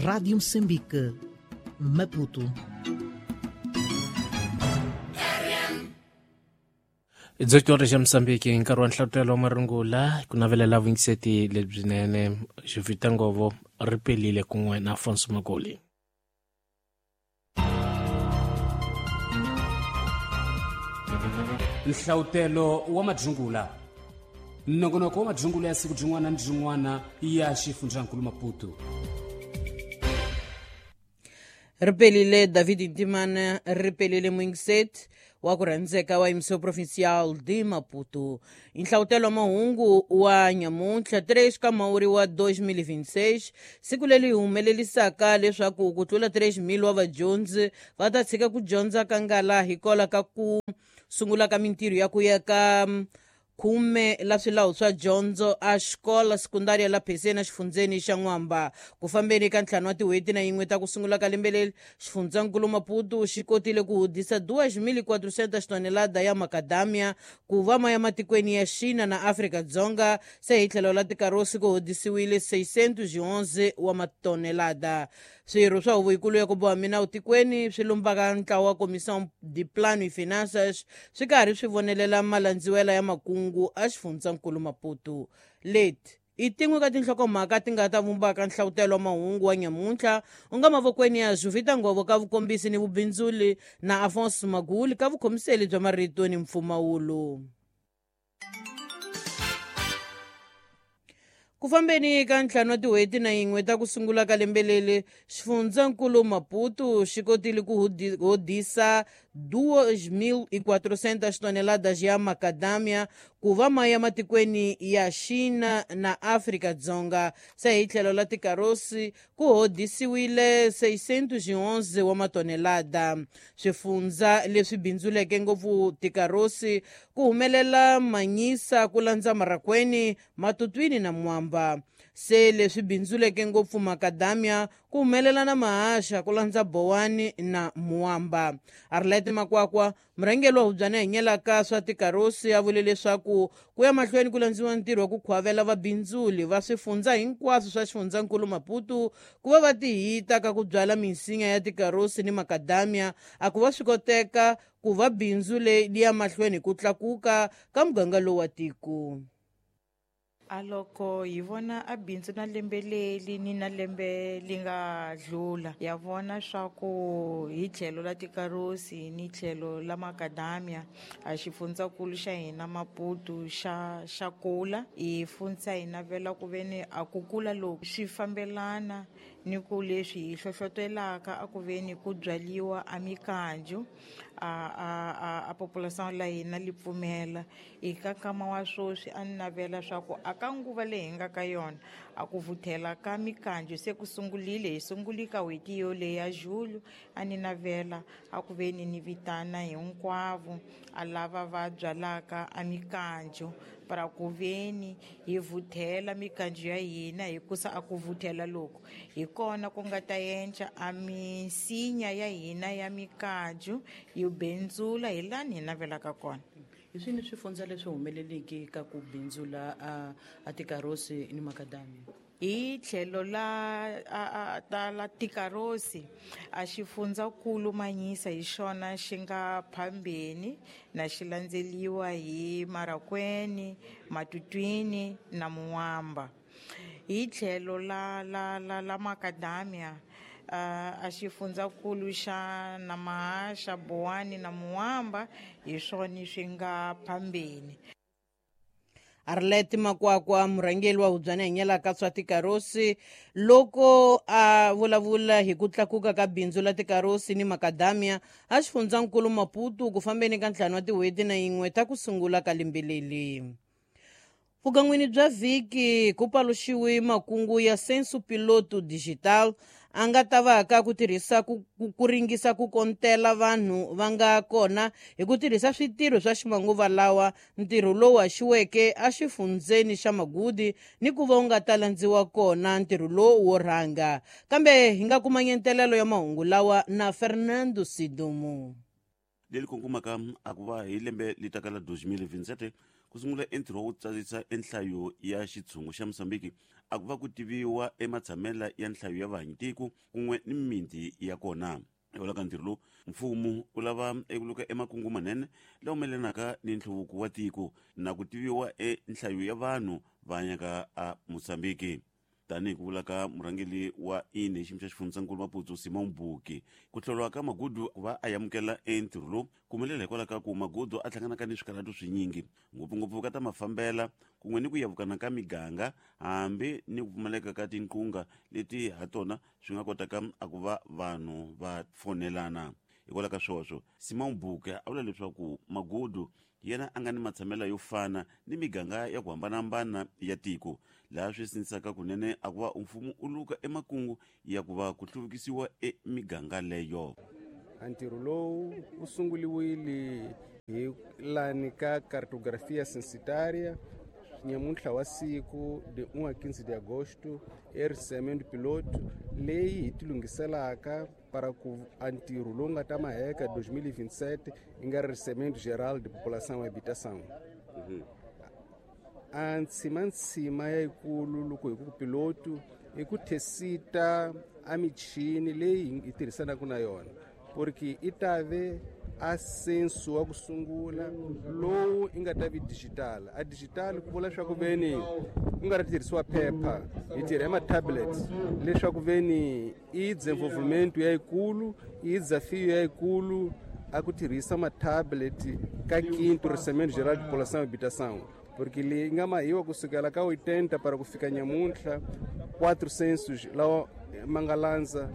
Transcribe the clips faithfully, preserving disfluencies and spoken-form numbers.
Rádio Moçambique, Maputo. dezoito horas ya Moçambique nkarhi wa nhlavutelo wa marungula ku navelela vuyingiseti lebyinene Jovita Ngovo ri pelile kun'we na Afonso Magoli. Nhlavutelo wa madzungula nongonoko wa madzungula ya siku byin'wana ni byin'wana ya xifundzankulu Maputo. Ripelile David Ntimana, ripelile Mwingiset wa ku rhandzeka wa M C Provincial de Maputo. Nhlavutelo wa mahungu wa nyamuntlha três ka Mhawuri wa dois mil e vinte e seis, siku leri humelelisaka leswaku ku tlula três mil wa vadyondzi va ta tshika ku dyondza ka ngala hikwalaho ka ku sungula ka mintirho ya ku ya ka khume la swilawu swa dyondzo a xikola sekundaria la Pheseni exifundzeni xa N'wamba. Ku fambeni ka ntlhanu wa tin'hweti na yin'we ta ku sungula ka lembe leri, xifundzankulu Maputo xi kotile ku hudisa duas mil e quatrocentas tonelada ya macadamia ku va ma ya matikweni ya China na Afrika-Dzonga. Se hi tlhelo la tikarosi ku hudisiwile seiscentos e onze wa matonelada. Swirho swa huvo yikulu ya ku boha minawu tikweni swi lumbaka ntlawa wa Comissão de Plano e Finanças swi karhi swi vonelela malandziwela ya makungu a xifundzankulu Maputo. Leti i tin'we ka tinhlokomhaka ti nga ta vumbaka nhlavutelo wa mahungu wa nyamuntlha u nga mavokweni ya Jovita Ngovo ka vukombisi ni vubindzuli na Afonso Maguli ka vukhomiseli bya marito ni mpfumawulo. Ku fambeni ka ntlhanu wa tin'hweti na yin'we ta ku sungula ka lembe leri, xifundzankulu Maputo xi kotile ku hodisa duas mil e quatrocentas toneladas ya macadamia ku va ma ya matikweni ya China na Afrika-Dzonga. Se hi tlhelo la tikarosi ku hodisiwile seiscentos e onze wa matonelada. Swifundza leswi bindzuleke ngopfu tikarosi ku humelela Manyisa, ku landza Marakweni, Matutwini na Mwamba. Se leswi bindzuleke ngopfu macadamia ku humelela na Mahasha, ku landza Bowani na Muamba. Arlette Makwakwa, murhangeri wa hubyana hinyelaka swa tikarosi, a vule leswaku ku ya mahlweni ku landziwa ntirho wa ku khwavela vabindzuli va swifundza hinkwaswo swa xifundzankulu Maputo ku va va tihita ka ku byala minsinya ya tikarosi ni macadamia, a ku va swi koteka ku va bindzu leri ya mahlweni ku tlakuka ka muganga lowu wa tiko. A loko hi vona a bindzu na lembe leri ni na lembe li nga dlula, ya vona swa ku hi tlhelo la tikarosi ni tlhelo la macadamia a xifundzankulu xa hina Maputo xa xa kula. Hi fundza hi navela ku veni a ku kula loku swi fambelana ni ku leswi hi hlohlotelaka a ku veni ku byaliwa a mikanju a a a, a population la hina li pfumela. Eka nkama wa sweswi a ni navela swa ku a ka nguva leyi hi nga ka yona a ku vuthela ka mikanju se ku sungulile, hi sunguli ka n'hweti yoleyi ya Julho. A ni navela a ku veni ni vitana hinkwavo a lava va byalaka a mikanju para ku veni hi vuthela mikanju ya hina, hikusa a ku vuthela loko hi kona ku nga ta endla a misinya ya hina ya mikanju yi bindzula hi lani hi navelaka kona. Hi swini swifundza leswi humeleleke ka ku bindzula a, a tikarosi ni macadamia? Hi tlhelo la a, a, ta la tikarosi a xifundzankulu Manyisa hi xona xi nga phambeni na xi landzeliwa hi Marakweni, Matutwini na Muamba. Hi tlhelo la la la la macadamia a xifundzankulu xa na Mahasha, Bowani na Muamba hi swona swi nga phambeni. Arlette Makwakwa, murhangeri wa hubyana hinyelaka swa tikarosi, loko a vulavula hi ku tlakuka ka bindzu la tikarosi ni macadamia a xifundzankulu Maputo ku fambeni ka ntlhanu wa tin'hweti na yin'we ta ku sungula ka lembe leri. Vugan'wini bya vhiki ku paluxiwe makungu ya Censo Piloto Digital a nga ta va ka ku tirhisa ku, ku, ku ringisa ku kontela vanhu va nga kona hi ku tirhisa switirho swa ximanguva lawa. Ntirho lowu haxiweke exifundzeni xa Magudi ni ku va wu nga ta landziwa kona ntirho lowu wo rhanga. Kambe hi nga kuma nyentelelo ya mahungu lawa na Fernando Sidumo. Leri kongomaka a ku va hi lembe li taka la dois mil e vinte e sete Ku sungula entirho wo tsarisa enhlayo ya xitshungu xa Mozambique a ku va ku tiviwa ematshamela ya nhlayo ya vahanyitiko kun'we ni mimiti ya kona. Hikwalaho ka ntirho lowu, mfumo wu lava eku luka emakungu manene lawa melanaka ni nhluvuko wa tiko na ku tiviwa enhlayo ya vanhu va hanyaka a Mozambique. Tanihi ku vula ka murhangeri wa I N E hi xiyimo xa xifundzankulu Maputo Simon Buki, ku hlawuriwa ka Magudu ku va a amukela entirho lowu ku humelela hikwalaho ka ku Magudu a hlanganaka ni swikarhato swinyingi, ngopfungopfu ka ta mafambela kun'we ni ku yavukana ka miganga, hambi ni ku pfumaleka ka tinqunga leti ha tona swi nga kotaka a ku va vanhu va fonelana. Hikwalaho ka sweswo, Simon Buki a vula leswaku Magudu yena a nga ni matshamelo yo fana ni miganga ya ku hambanahambana ya tiko, laha swi sindzisaka kunene a ku va mfumo u luka emakungu ya ku va ku hluvukisiwa emiganga leyo. Ntirho lowu wu sunguliwile hi lani ka cartografia censitária nyamuntlha wa siku de um a quinze de agosto, e piloto leyi hi tilunghiselaka para ku a ntirho lowu nga ta maheka dois mil e vinte e sete i nga recenseamento geral de população e habitação. A ntshimantsima yayikulu loko hi ku piloto i ku tesita a michini leyi hi tirhisanaka na yona, porque i ta ve a censo wa ku sungula lowu i nga ta vi digital. A digital ku vula leswaku veni ku nga ri tirhisiwa phepha, hi tirha hi ma-tablet, leswaku veni i desenvolvimento yayikulu, i desafio yayikulu a ku tirhisa ma-tablet ka quinto recenseamento geral de população e habitação, porque leyi nga mahiwa kusukela ka oitenta para ku fika nyamuntlha, quatro censos lawa ma nga landza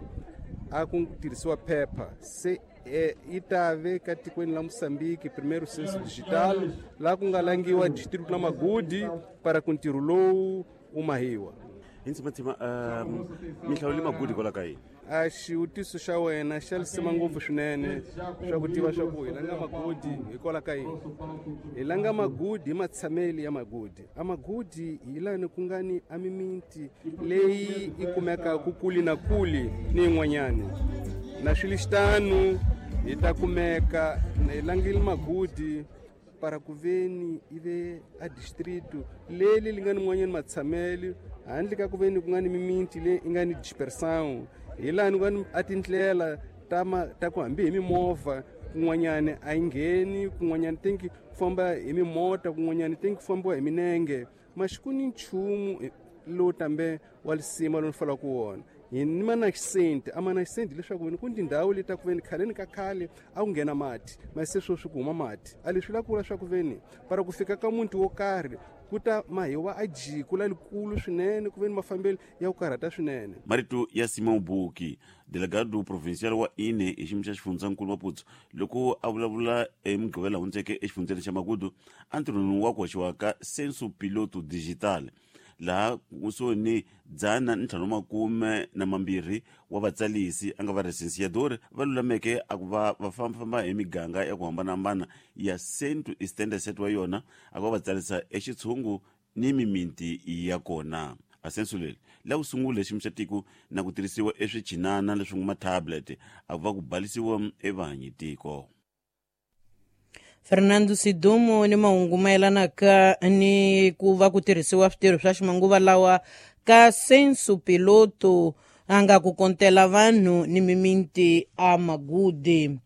a ku tirhisiwa phepha. Se eh, i ta ve ka tikweni la Moçambique primeiro censo digital laha ku nga langiwa distrito la Magudi para ku ntirho lowu wu mahiwa. Hi ntsimatsima, um mi hlawule Magudi hikwalaho ka yini? A xivutiso xa wena xa lisima ngopfu swinene swa ku tiva swa ku hi langa Magudi hikwalaho ka yini. Hi langa Magudi hi matshameli ya Magudi. A Magudi hi lani ku nga ni a mimiti leyi i kumekaka kuli na kuli ni yin'wanyani na swilixitanu hi ta kumeka. Hi langile Magudi para ku veni i ve a distrito leli li nga ni n'wanyani matshamelo, handle ka ku veni ku nga ni mimiti leyi i nga ni dispersão, hi lani ku nga ni a tindlela ta ma ta ku hambi hi mimovha kun'wanyani a yi ngheni, kun'wanyani tenki ku famba hi mimota, kun'wanyani tenki ku fambiwa hi minenge. Maxi ku ni nchumu lowu tambe wa lisima lowu ni falaka wona hi ni ma-nascente. A ma-nascente leswaku veni ku ni tindhawu leti ta ku veni khaleni ka khale a ku nghena mati, masi se sweswi ku huma mati. A leswi la ku vula swa ku veni para ku fika ka muti wo karhi ku ta mahiwa a jiko lalikulu swinene, ku veni mafambelo ya ku karhata swinene. Marito ya Simon Buki, delegado provincial wa I N E hi xiyimo xa xifundzankulu Maputo, loko a vulavula emugqivela hundzeke exifundzeni xa Magudu entirhweni wa ku hoxiwa ka censo piloto digital, laha kusuhi ni dzana ni ntlhanu makume na mambirhi wa vatsalisi a nga va recenseador va lulameke a ku va va fambafamba hi miganga ya ku hambanahambana ya cento e setenta e sete wa yona, a ku va va tsarisa exitshungu ni mimiti ya kona. A censo leri la ku sungula xiyimo xa tiko na ku tirhisiwa eswichinana leswi nga ma-tablet a ku va ku balisiwa evahanyitiko. Fernando Sidumo ni mahungu mayelanaka ni ku va ku tirhisiwa switirho swa ximanguva lawa ka censo piloto a nga ku kontela vanhu ni mimiti a Magudi.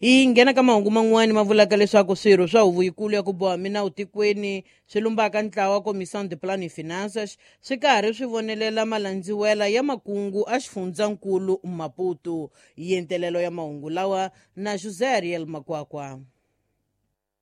Hi nghena ka mahungu man'wani ma vulaka leswaku swirho swa huvo yikulu ya ku boha minawu tikweni swi lumbaka ntlawa Comissão de Plano e Finanças swi karhi swi vonelela malandziwela ya makungu a xifundzankulu Maputo. Yentelelo ya mahungu lawa na José Ariel Makwakwa.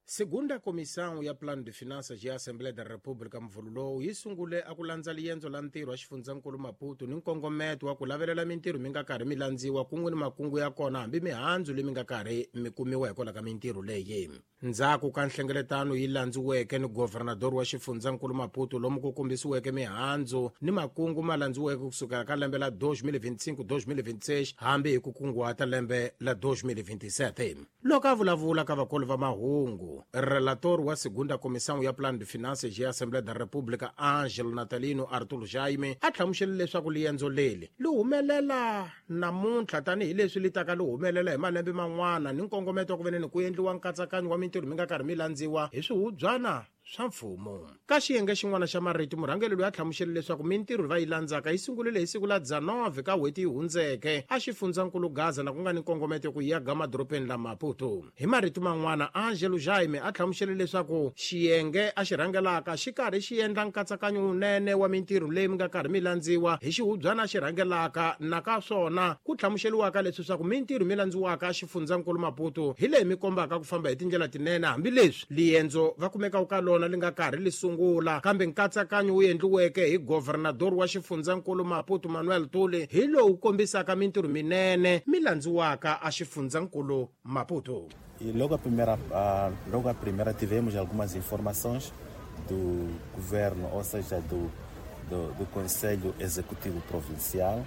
Segunda Comissão ya Plano de Finanças ya Assembleia da República mvulu lowu yi sungule a ku landza liendzo la ntirho wa xifundzankulu Maputo ni nkongometo wa ku lavelela mintirho mi nga karhi mi landziwa kun'we ni makungu ya kona, hambi mihandzu leyi mi nga karhi mi kumiwa hikwalaho ka mintirho leyi. Ndzhaku ka nhlengeletano yi landziweke ni governador wa xifundzankulu Maputo, lomu ku kombisiweke mihandzu ni makungu ma landziweke kusukela ka lembe la twenty twenty-five twenty twenty-six hambi hi ku kunguhata lembe la twenty twenty-seven. Loko a vulavula ka vakulu va mahungu, relator wa Segunda Comissão ya Plano de Finanças ya Assembleia da República, Angelo Natalino Artur Jaime, a hlamusele leswaku liendzo leri li humelela namuntlha tanihileswi li taka li humelela hi malembe man'wana ni nkongometo wa ku veneni ku endliwa nkatsakanyo wa mintirho mi nga karhi mi landziwa hi swihubyana. swa mfumo. Ka xiyenge xin'wana xa marito, murhangeri loyi a hlamusele leswaku mintirho va yi landzaka yi sungurile hi siku la dzanove ka n'hweti yi hundzeke a xifundzankulu Gaza na ku nga ni nkongometo ku ya ga madorobeni la Maputo. Hi marito man'wana, Angelo Jaime a hlamusele leswaku xiyenge a xi rhangelaka xi karhi xi endla nkatsakanyo wunene wa mintirho leyi mi nga karhi mi landziwa hi xihubyana xi rhangelaka, na ka swona ku hlamuseliwaka leswi swa ku mintirho mi landziwaka a xifundzankulu Maputo hi leyi mi kombaka ku famba hi tindlela tinene, hambileswi liendzo va kumekaka ka lona li nga karhi li sungula, kambe nkatsakanyo wu endliweke hi governador wa xifundzankulu Maputo Manuel Tuli hi lowu kombisaka mintirho minene mi landziwaka a xifundzankulu Maputo. E logo a primeira, a, logo a primeira tivemos algumas informações do governo, ou seja, do, do, do Conselho Executivo Provincial.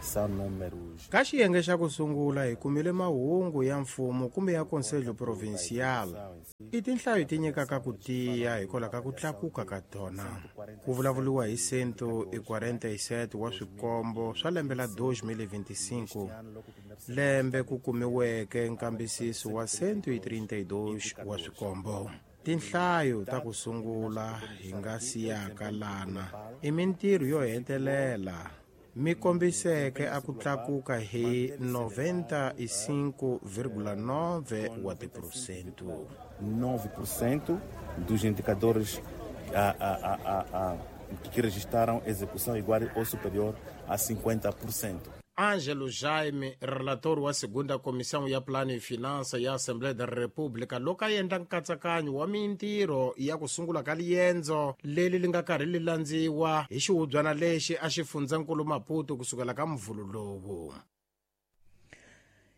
São números. Ka xiyenge xa ku sungula hi kumile mahungu ya mfumo kumbe ya Conselho Provincial. I tinhlayo ti nyikaka ku tiya hikwalaho ka ku tlakuka ka tona. Ku vulavuriwa hi cento e quarenta e sete wa swikombo swa lembe la dois mil e vinte e cinco, lembe ku kumiweke nkambisiso wa cento e trinta e dois wa swikombo. Tinhlayo ta ku sungula hi nga siyaka lana i mintirho yo hetelela mi kombiseke a ku tlakuka hi noventa e cinco vírgula nove wa tiphesente. nove por cento dos indicadores a, a, a, a, a, que registraram execução igual ou superior a cinquenta por cento. Angelo Jaime, relator wa segunda comissão ya plano e finança ya Assembleia da República, loko a endla nkatsakanyo wa mintirho ya ku sungula ka liendzo leri li nga karhi li landziwa hi xihubyana lexi a xifundzankulu Maputo kusukela ka mvhulu lowu.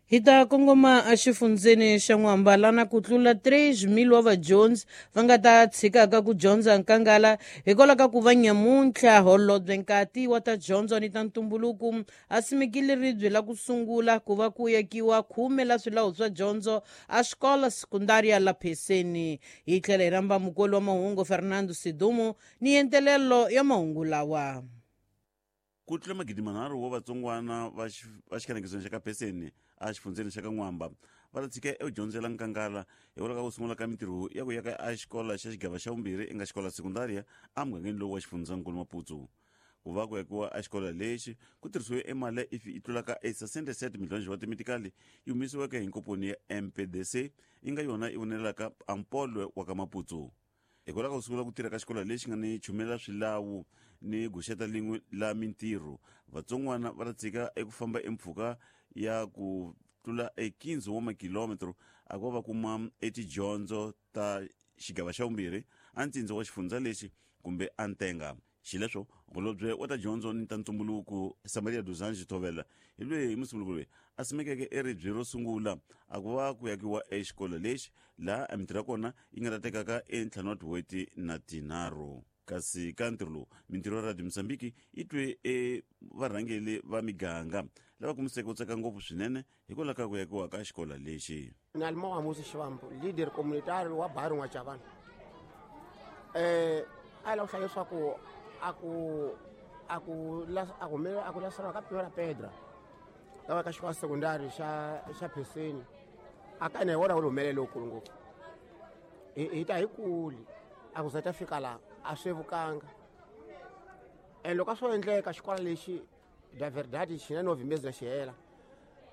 Hi ta kongoma exifundzeni xa N'wamba na ku tlula três mil wa vadyondzi va nga ta tshikaka ku dyondza nkangala hikwalaho ka ku va nyamuntlha holobye nkati wa ta dyondzo ni ta ntumbuluko a simekile ribye la ku sungula ku va ku yakiwa khume la swilawu swa dyondzo a xikola sekundaria la Pheseni. Hi tlhela hi rhamba mukoli wa mahungu Fernando Sidumo ni entelelo ya mahungu lawa. Ku tlula magidi manharhu wa vatsongwana va xikhanekisweni xa ka Pheseni a xifundzeni xa ka N'wamba va ta tshika edyondzela nkangala hikwalaho ka ku sungula ka mintirho ya ku yaka a xikolo xa xigava xa vumbirhi eka xikolo sekundaria emugangeni lowu wa xifundzankulu Maputo. Ku va ku yakiwa a xikolo lexi ku tirhisiwe emali ifi yi tlulaka e sessenta e sete milhões wa timitikali yi humesiweke hi nkomponi ya M P D C yi nga yona yi vonelaka ampolwe wa ka Maputo. Hikwalaho ka ku sungula ku tirha ka xikolo lexi nga ni chumela swilawu ni guxeta lin'we la mintirho, vatsongwana va ta tshika eku famba empfhuka ya ku tlula e quinze wa makilometro a ku va va kuma etidyondzo ta xigava xa vumbirhi a ntsindza wa xifundza lexi kumbe a ntenga. Xileswo holobye wa ta dyondzo ni ta ntumbuluko Samaria dos Anjos Thovela hi loyi hi musunguluko loyi a simekeke eribye ro sungula a ku va ku yakiwa exikolo lexi laha a mintirho ya kona yi nga ta tekaka entlhanu wa tin'hweti na tinharhu. Kasi ka ntirho lowu mintirho ya Radio Mozambique yi twe e varhangeri va miganga lava kumiseke ku tsaka ngopfu swinene hikwalaho ka ku yakiwa ka xikolo lexi. Nalimo wa Musi Xivambu, leader communitario wa Baru N'wachavana. Eh a lava ku hlaya leswaku a ku a ku a ku a ku laseriwa ka primeira pedra lava ka xikolo sekundari xa xa Pheseni a ka na wona wu humelele lowukulu ngopfu. Hi hi ta hi kuli a ku za ta fika laha a swi vukanga. And loko a swo endleka xikolo lexi da verdade xi na nove meses na xi hela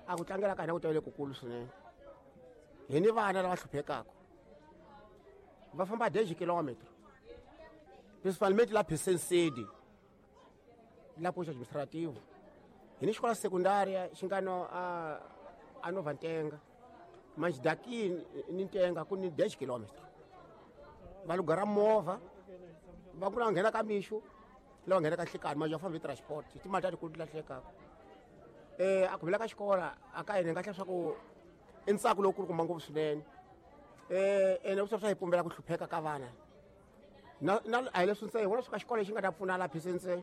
a ku tlangela ka hina ku tavele kukulu swinene. Hi ni vana lava hluphekaka va famba dez quilômetros principalmente lá Pheseni sede lá posto administrativo. Hi ni xikolo secundária xi nga no a a Nova Ntenga, mas daqui ni Ntenga ku ni dez quilômetros. Va lugara movha va ku nghena ka mixo lava nghena ka nhlikani mas va famba hi transport timali ta tikulu ti lahlekaka. Eh a ku vula ka xikolo a ka hina nga hlaya swa ku i ntsako lowukulu kuma ngopfu swinene. Eh ene ku swa hi pumbela ku hlupheka ka vana. Na na a hi leswi ntsena hi vona swa ka xikolo lexi nga ta pfuna la Pheseni ntsena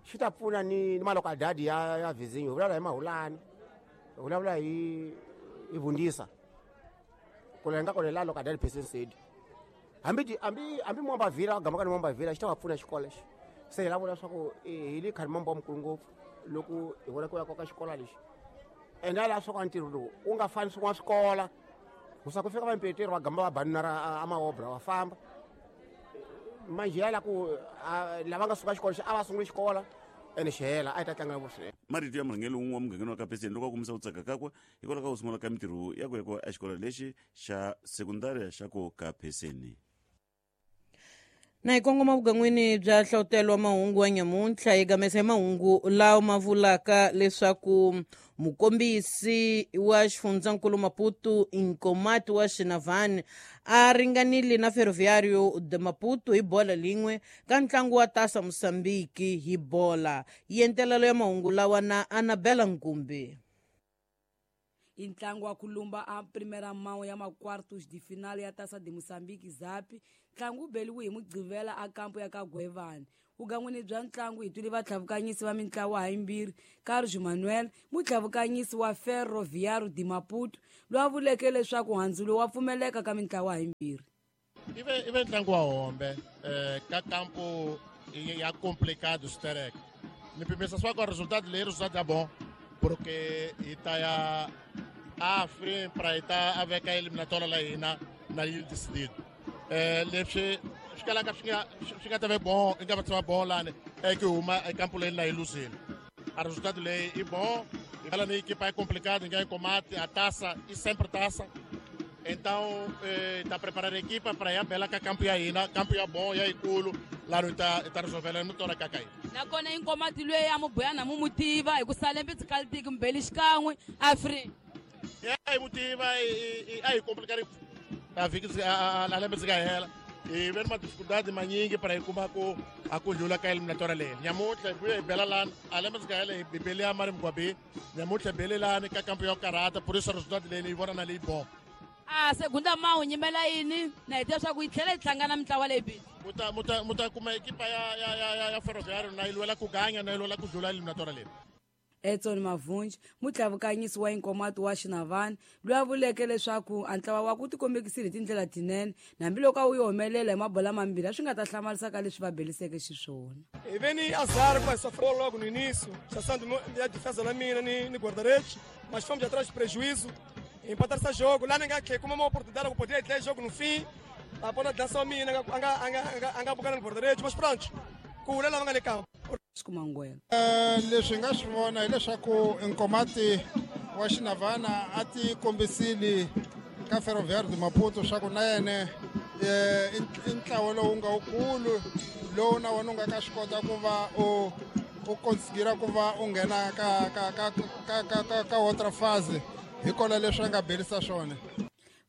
xi ta pfuna ni ni malokadadi ya ya vizinho. Hi vulavula hi Mahulani, hi vulavula hi hi Vundisa ku la hi nga kona la lokadadi Pheseni sede. Hambi hambi hambi Mwamba Villa gama ka ni Mwamba Villa xi ta va pfuna xikolo lexi. Se hi lava leswaku hi le khari mambo mukulu ngopfu loko hi vona ku ya ka xikolo lexi. Ende la swa ka ntirho lowu wu nga fani swin'wana swikola ku sa ku fika vampeteri va gamba va banana a maobra va famba. Manjhe la ku lava nga suka xikolo a va sunguli xikolo ene xi hela a yi ta tlanga ngopfu swinene. Marito ya murhangeri wun'we wa mugangeni wa Kapheseni loko a kombisa ku tsaka kakwe hikwalaho ka ku sungula ka mintirho ya ku ya exikolo lexi xa sekundari xa ku Kapheseni. Na hi kongoma vugan'wini bya hlohlotelo wa mahungu wa nyamuntlha hi gamesa hi mahungu lawa ma vulaka leswaku mukombisi wa xifundzankulu Maputo Nkomati wa Xinavani a ringanile na Ferroviário de Maputo hi bola lin'we ka ntlangu wa Taça Moçambique hi bola. Yentelelo ya mahungu lawa na Anabela Nkumbi. I ntlangu wa ku lumba a primeira mão ya ma-quartos de final ya Taça de Moçambique zapi ntlangu wu beliwe hi Mugqivela a kampo ya ka Gwevani. Vugan'wini bya ntlangu hi twile vatlhavukanyisi va mintlawa hayimbirhi Carlos Manuel mutlhavukanyisi wa Ferroviário de Maputo loyi a vuleke leswaku handzulo wa pfumeleka ka mintlawa hayimbirhi. Ive ive ntlangu wa hombe eh, ka kampo ya complicado sterek ni pimisa swa ku resultado leyi resultado ya bom porque hi ta ya a free para ita a veka eliminatória la hina na yi decidido. Eh leswi swi kalaka swi nga swi nga ta ve bon i nga va tshama bon lani e ku huma ekampo leyi na yi luzile. A resultado leyi i bom ela ni equipa é complicada, ninguém combate a taça e sempre taça. Então está eh, preparando a equipa para ir a bela ka campo ya hina, campo ya bom ya ikulu lá no tá tá resolvendo no tora kakai. Nakona inkomati lweyi a mubuyana mu mutiva hi ku salembe tsikaltiki mbeli xikan'we afri. Ya hi mutiva a hi complicado a vhiki a lembe ndzi nga hela hi ve ni madificuldade manyingi para hi kuma ku a ku dlula ka eliminatória leyi. Nyamuntlha hi vuya hi bela lani a lembe ndzi nga hela hi bele ya mari mugwabi nyamuntlha hi bele lani ka kampo ya karata por isso resultado leyi yi vona na leyi bom. A segunda mão nyimela yini na hi tiva swa ku yi tlhela yi hlangana mintlawa leyi bili. Muta muta muta kuma ekipa ya ya ya ya Ferroviário na yi lwela ku ganya na yi lwela ku dlula eliminatória leyi. Edson Mavunji mutlhavukanyisi wa Inkomati wa Xinavani loyi a vuleke leswaku a ntlawa wa ku tikombekisile hi tindlela tinene hambiloko a wu yi humelela hi mabola mambirhi a swi nga ta hlamarisa ka leswi va beliseke xiswona. Hi ve ni azar com essa bola logo no início, chassando a defesa na mina ni, ni guarda-redes, mas fomos atrás de prejuízo, empatar esse jogo. Lá ninguém que como uma oportunidade que poderia ter jogo no fim, a bola dança a mina, anga anga anga bocana no guarda-redes, mas pronto, com o Lela vanga campo. Kumangwela. Leswi nga swi vona hileswaku Nkomati wa Xinavana a ti kombisile ka Ferroviário de Maputo swa ku na yena i ntlawa lowu nga wukulu lowu na wona u nga ka swi kota ku va u u considera ku va u nghena ka ka ka ka ka ka ka outra fase hikola leswi a nga berisa swona.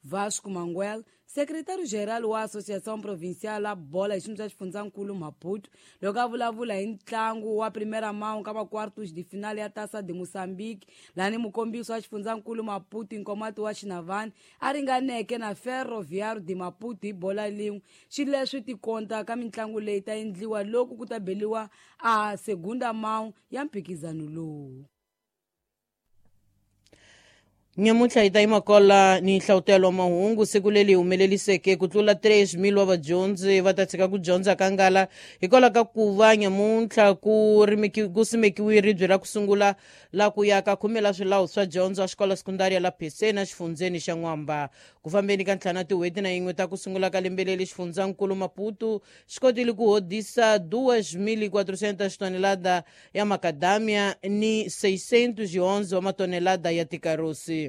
Vasco Manguel, secretário-geral wa Associação Provincial ya Bola hi xiyimo xa xifundzankulu Maputo, loko a vulavula hi ntlangu wa primeira mão ka ma-quartos de final ya Taça de Moçambique, lani mukombisi wa xifundzankulu Maputo Nkomati wa Xinavani a ringaneke na Ferroviário de Maputo hi bola lin'we. Xileswi tikonta ka mitlangu leyi ta endliwa loko ku ta beliwa a segunda mão ya mphikizano lowu. Nyamuntlha hi ta yima kola ni hlavutelo wa mahungu siku leri humeleliseke ku tlula três mil wa vadyondzi va ta tshika ku dyondza ka ngala hikwalaho ka ku va nyamuntlha ku rimeki ku simekiwe ribye ra ku sungula la ku ya ka khume la swilawu swa dyondzo a xikolo sekundari ya la Pheseni exifundzeni xa N'wamba. Ku fambeni ka ntlhanu tin'hweti na yin'we ta ku sungula ka lembe leri xifundzankulu Maputo xi kotile ku hodisa duas mil e quatrocentas tonelada ya macadamia ni seiscentos e onze wa matonelada ya tikarosi.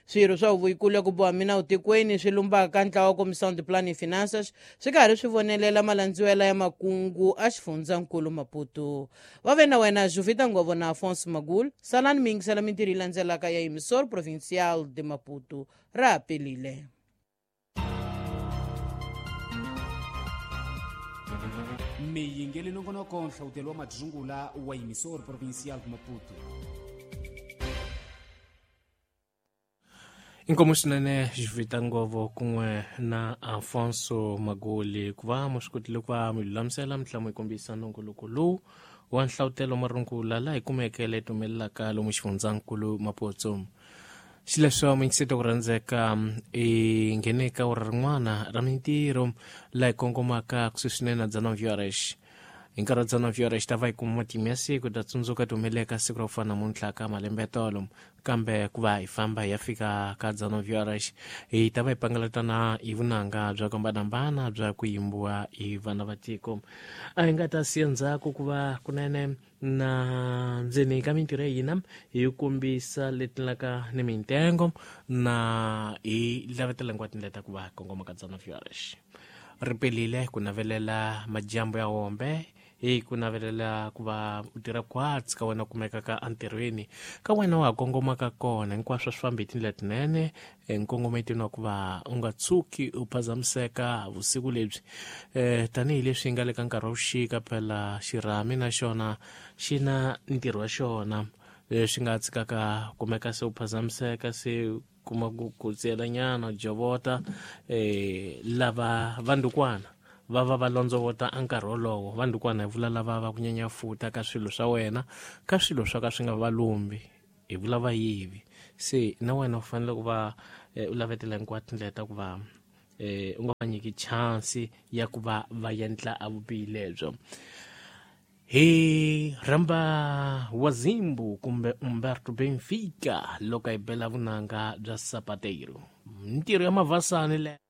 Swirho swa huvo yikulu ya ku boha minawu tikweni swi lumbaka ntlawa wa Comissão de Plano e Finanças swi karhi swi vonelela malandziwela ya makungu a xifundzankulu Maputo. Va ve na wena Juvita Ngovo na Afonso Magul. Salani mi yingisela mintirho yi landzelaka ya Emissor Provincial de Maputo. Ra ha pelile. Miyingeli nongonoko nhlawutelo wa madzungula wa Emissor Provincial de Maputo. Inkomu swinene Juvita Ngovo kun'we na Afonso Magoli ku va mu swi kotile ku va mi lulamisela mi tlhela mu yi kombisa nongoloko lowu wa nhlawutelo marungula laha hi kumeke leyi tumelelaka lomu xifundzankulu Maputo. Xileswo muyingiseti ku rhandzeka i nghene ka ura rin'wana ra mintirho laha hi kongomaka kusuhi swinene na dzana V R H. Hi nkarhi wa dzana viyora xi ta va hi kuma matimu ya siku ta tsundzuka ti humeleka siku ra ku fana namuntlha ka malembe ya tolo, kambe ku va hi famba hi ya fika ka dzana viyora hi ta va hi pangalatana hi vunanga bya ku hambanahambana bya ku yimbiwa hi vana va tiko. A hi nga ta siya ndzhaku ku va kunene na ndzeni ka mintirho ya hina hi kombisa leti laka ni mintengo na hi lavetela hinkwato tindlela ta ku va kongoma ka dzana viyora. Ri pelile ku navelela majambu ya hombe, hi ku navelela ku va u tirha khwatsi ka wena kumeka ka entirhweni ka wena wa ha kongomaka kona, hinkwaswo swi fambi hi tindlela tinene nkongometweni wa ku va u nga tshuki u phazamiseka vusiku lebyi. um tanihileswi hi nga le ka nkarhi wa vuxika, phela xirhami na xona xi na ntirho wa xona, leswi nga tshikaka kumeka se u phazamiseka se kuma ku ku tsiyelanyana jovota. um lava vandukwana va va va londzovota a nkarhi wolowo, vandukwana hi vula lava va ku nyanyafuta ka swilo swa wena, ka swilo swa ka swi nga va lumbi, hi vula vayivi. Se na wena u fanele ku va u lavetela hinkwato tindlela ta ku va um u nga va nyiki chance ya ku va va endla a vubihi lebyo. Hi rhamba Wazimbu kumbe Umberto Benfica loko hi bela vunanga bya Sapateiro, mintirho ya mavasani le.